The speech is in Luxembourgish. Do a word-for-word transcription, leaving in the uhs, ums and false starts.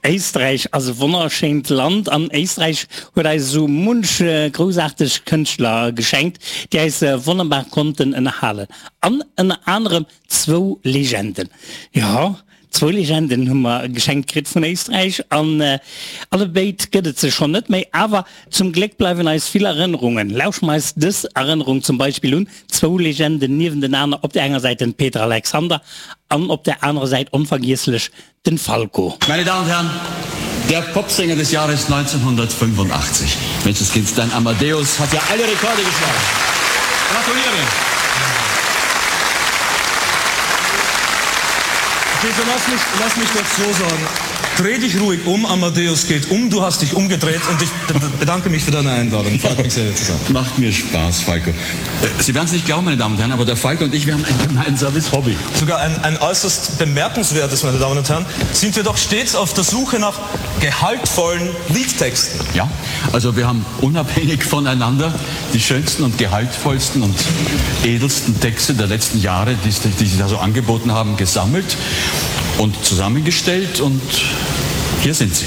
Éisträich ass e wonnerschéint Land an Éisträich huet eis esou munch groussaarteg Kënschtler geschenkt, déi eis wonnerbar konnten ënnerhalen. An ënner anerem zwou Legenden. Jo, zwou Legenden hu mer geschenkt kritt vun Éisträich an allebéid gëtt et se schonn net méi. Awer zum Gléck bleiwen eis vill Erënnerungen. Lauschteren mer eis dës Erënnerung zum Beispill un, zwou Legenden niewentenaner, op der enger Säit den Peter Alexander an op der anerer Säit onvergiesslech den Falco. Meine Damen und Herren, der Popsänger des Jahres neunzehnhundertfünfundachtzig. Menschenskind, dein Amadeus hat ja alle Rekorde geschlagen. Gratuliere! Peter, lass mich, lass mich das so sagen. Dreh dich ruhig um, Amadeus geht um, du hast dich umgedreht und ich bedanke mich für deine Einladung. Freut mich sehr, hier zu sein. Macht mir Spaß, Falco. Sie werden es nicht glauben, meine Damen und Herren, aber der Falco und ich, wir haben ein gemeinsames Hobby. Sogar ein, ein äußerst bemerkenswertes, meine Damen und Herren, sind wir doch stets auf der Suche nach gehaltvollen Liedtexten. Ja, also wir haben unabhängig voneinander die schönsten und gehaltvollsten und edelsten Texte der letzten Jahre, die, die sich da so angeboten haben, gesammelt und zusammengestellt und hier sind sie.